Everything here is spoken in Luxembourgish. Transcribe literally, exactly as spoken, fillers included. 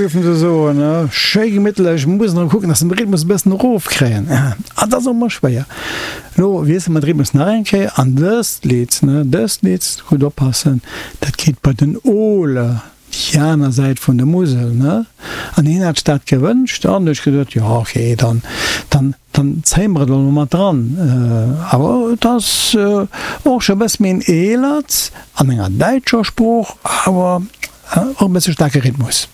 géifen se soen, schéi gemittlech, muss erëm kucken, dass se de Rhythmus e bëssen erofkréien. An dat ass och emmer schwéier. Elo wiessele mer de Rhythmus nach eng Kéier an dëst Lidd, dëst Lidd, gutt oppassen, dat geet bei den Ole, déi aner Säit vun der Musel, ne? An hien hat sech dat gewënscht an hu ech gesot, jo ok, dann, dann, dann zéie mer et elo mat dran. Awer et ass och scho e bësse méi en eelert, an enger däitscher Sprooch, awer och e bësse staarke Rhythmus.